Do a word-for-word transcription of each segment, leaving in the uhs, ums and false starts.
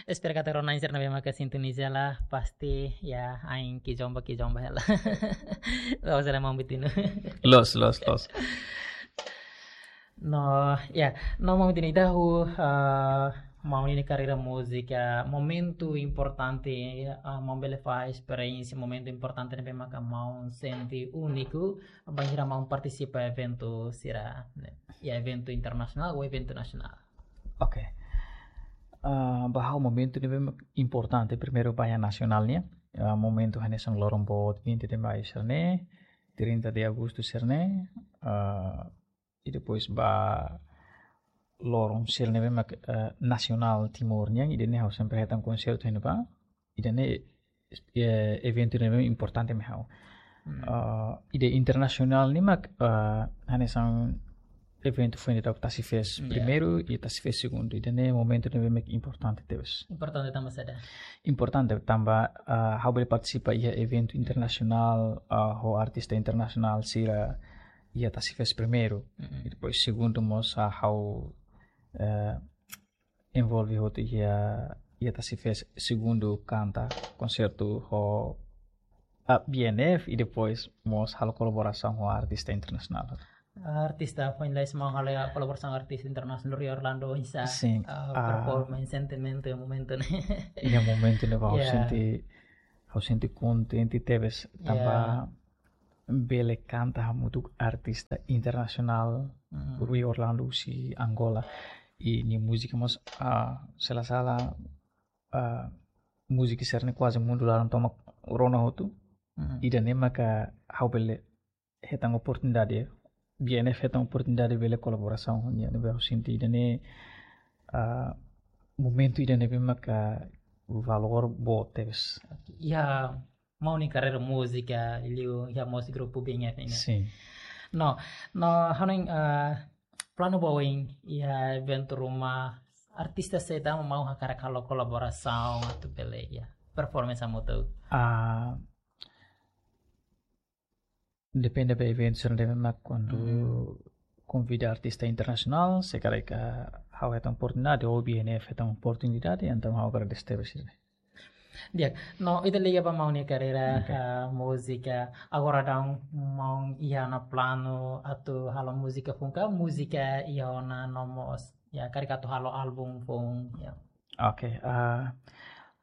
Espera katak rona-na'in sira ne'ebé maka sintoniza hela, pasti ya ain kizomba kizomba hela. Loos ka lae, maun Bitinu? Loos, loos, loos. No, ya, no, maun Bitinu, ita hahú, ah, maun nia karreira múzika, momentu importante, ah, maun bele fahe esperiénsia, momentu importante ne'ebé maka maun sente úniku, bainhira maun partisipa eventu sira-ne'e, ya, eventu internasionál ou eventu nasionál. Oke. Ah, ba ha'u momentu ne'ebé importante, primeiru ba iha nasionál nian. Ah, momentu hanesan loron boot vinte de maio sira-ne'e, trinta de agosto sira-ne'e, ah, i depois ba loron sira ne'ebé mak, ah, nasionál Timor nian, ida-ne'e ha'u sempre hetan konsertu iha ne'ebá, ida-ne'e, eh, eventu ne'ebé importante mai ha'u. Ah, ida internasionál ne'e mak, ah, hanesan eventu foin daudauk Tasi Fest primeiru i Tasi Fest segundu. Ida-ne'e momentu ne'ebé mak importante tebes. Importante tanba saida? Importante tanba, ah, ha'u bele partisipa iha eventu internasionál, ah, ho artista internasionál sira iha Tasi Fest primeiru. I depois segundu mós, ah, ha'u, eh, envolve hotu iha, iha Tasi Fest segundu kanta konsertu ho, ah, B N F i depois mós halo kolaborasaun ho artista internasionál. Artista foin lalais maun halo kolaborasaun artista internasionál, Rio Orlando, oinsá, ah, performance, sentimentu iha momentu ne'e? Iha momentu ne'ebá ha'u sente, ha'u sente kontente tebes tanba bele kanta hamutuk artista internasionál, Rio Orlando husi Angola. I nia múzika mós, ah, se la sala, ah, múzika sira-ne'e kuaze mundu laran tomak rona hotu. Ida-ne'e maka ha'u bele hetan oportunidade, B N F hetan oportunidade bele kolaborasaun ho nia, ne'ebé ha'u sente ida-ne'e, ah, momentu ida ne'ebé maka valór boot tebes. Ya, maun nia karreira múzika, liu iha mós grupu B N F ne'e. Sin. No, no, hanoin, ah, planu ba oin iha eventu ruma, artista saida mak maun hakarak halo kolaborasaun atu bele, ya, performance hamutuk? Ah, depende ba eventu sira ne'ebé mak kuandu konvida artista internasionál, se karik ha'u hetan oportunidade, ou B N F hetan oportunidade, entaun ha'u agradese tebes. Di'ak, no ita liga ba maun nia karreira, ah, múzika. Agora daudaun maun iha ona planu atu halo múzika foun ka, múzika iha ona no mós, ya, karik atu halo álbum foun, ya? Oke, ah,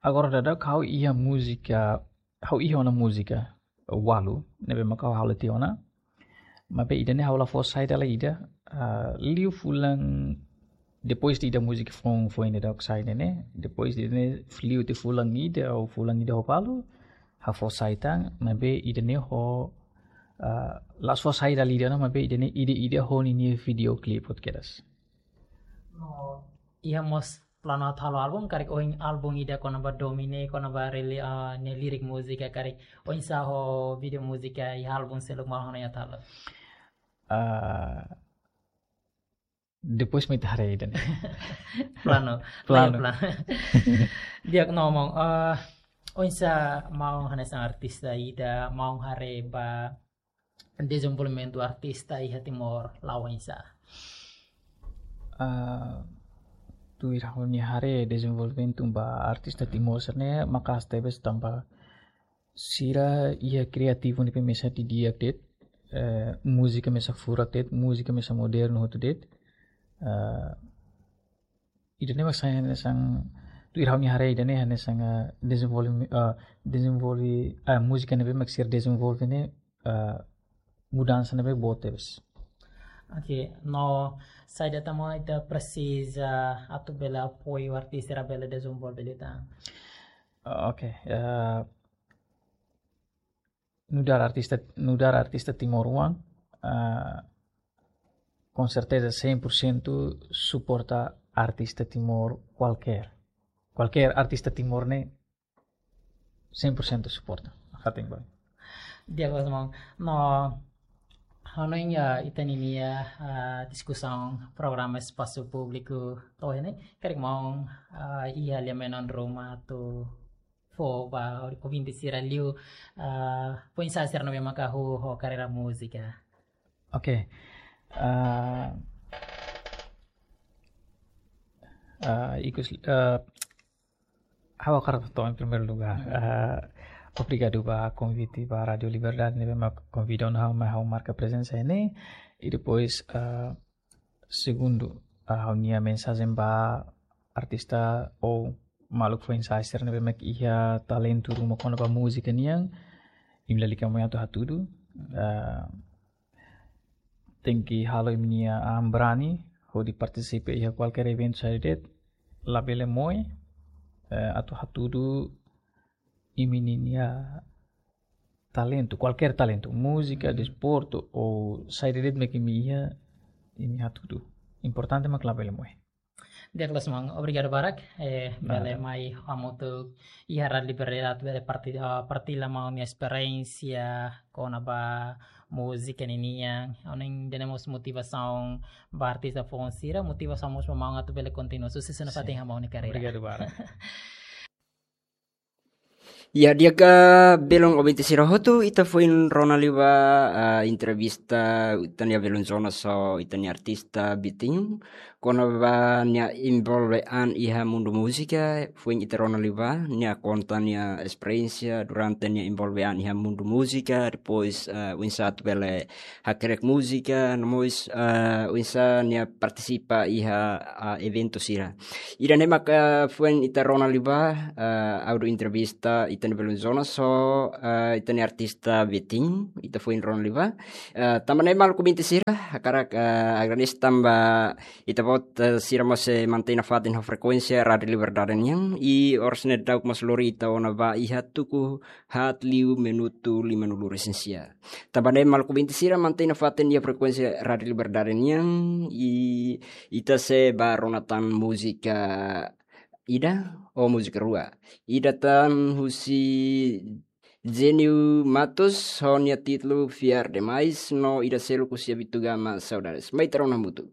agora daudaun ha'u iha múzika, ha'u iha ona múzika ualu ne'ebé maka ha'u halo tiha ona. Maibé ida-ne'e ha'u la fó sai dala ida, ah, liu fulan depois de ida múzika foun, foin ida daudauk sai ne'e, depois de ne'e liu tiha fulan ida ou fulan ida ho balu, ha'u fó sai tan, maibé ida-ne'e ho, ah, la'ós fó sai dala ida ona, maibé ida-ne'e ida-idak ho ninia video clip hotu kedas. No iha mós planu atu halo álbum, karik ohin álbum ida kona-ba domin ne'e, kona-ba reli-, ah, nia lirik múzika, karik oinsá ho video múzika iha álbum seluk maun hanoin atu halo? Ah, depois mai ita haree ida-ne'e. Planu, planu. Planu. Di'ak no maun, ah, oinsá maun hanesan artista ida, maun haree ba dezenvolvimentu artista iha Timor la'o oinsá? Ah, tuir ha'u-nia haree, dezenvolvimentu ba artista Timor sira-ne'e maka'as tebes tanba sira iha kreativu ne'ebé mesak didi'ak de'it, eh, múzika mesak furak de'it, múzika mesak modernu hotu de'it. Eh, ida-ne'e mak sai hanesan, tuir ha'u-nia haree ida-ne'e hanesan, eh, dezenvolve, eh, dezenvolve, eh, múzika ne'ebé mak sira dezenvolve ne'e, eh, mudansa ne'ebé boot tebes. Oke, no saida tan mak ita presiza atu bele apoiu artista sira bele dezenvolve liután? Ah, oke, eh, nu'udar artista, nu'udar artista timoroan, ah, com certeza cem por cento suporta artista Timor kualkér. Kualkér artista Timor ne'e cem por cento suporta. Fatin boy. Di'ak loos maun. No, hanoin ya ita-ninia, ah, diskusaun programa espasu públiku to'o iha ne'e, karik maun, ah, iha lia-menon ruma atu fó ba ouvinte sira liu, ah, oinsá sira ne'ebé maka hahú ho karreira múzika? Oke. Ah, Ah, ikus, ah, ha'u hakarak hato'o em primeiro lugar. Ah, obrigadu ba konvite ba Rádio Liberdade ne'ebé mak konvida ona ha'u mai ha'u marka prezensa iha ne'e. I depois, ah, segundu, ah, ha'u-nia mensajen ba artista ou maluk foin-sa'e sira ne'ebé mak iha talentu ruma kona-ba múzika nian, imi lalika moe atu hatudu. Ah, tenke halo imi-nia an brani hodi partisipa iha kualkér eventu saida de'it, labele moe, eh, atu hatudu imi-nia talentu, kualkér talentu, múzika, desportu, ou saida de'it mak imi iha, imi hatudu. Importante mak labele moe. Di'ak loos maun, obrigadu barak, eh, bele mai hamutuk iha Rádio Liberdade, bele parti-, ah, partilla maun-nia esperiénsia kona-ba múzika ninian, ha'u hanoin ida-ne'e mós motivasaun ba artista foun sira, motivasaun mós ba maun atu bele kontinua. Susesu nafatin iha maun-nia karreira. Obrigadu barak. Ya, di'ak, belun ouvinte sira hotu, ita foin rona liu ba, ah, entrevista ita-nia belun Jonas ho ita-nia artista Bitinho, kona-ba nia envolve an iha mundu múzika, foin ita rona liu ba nia konta nia esperiénsia durante nia envolve an iha mundu múzika, depois, ah, oinsá atu bele hakerek múzika, no mós, ah, oinsá nia partisipa iha, ah, eventu sira. Ida-ne'e mak foin ita rona liu ba, ah, áudio entrevista ita-nia belun Jonas ho, ah, ita-nia artista Bitinho, ita foin rona liu ba. Ah, tanba ne'e maluk ouvinte sira, hakarak, ah, agradese tanba ita-boot, eh, sira mós sei mantein nafatin ho frekuénsia Rádio Liberdade nian, i oras ne'e daudauk mós lori ita ona ba iha tuku haat liu minutu limanulu-resin-sia. Tanba ne'e maluk ouvinte sira mantein nafatin iha frekuénsia Rádio Liberdade nian, i ita sei bá rona tan múzika ida ou múzika rua. Ida tan husi Jânio Matos, ho nia títulu Fiar Demais, no ida seluk husi Abitugama Saudades. Mai ita rona hamutuk.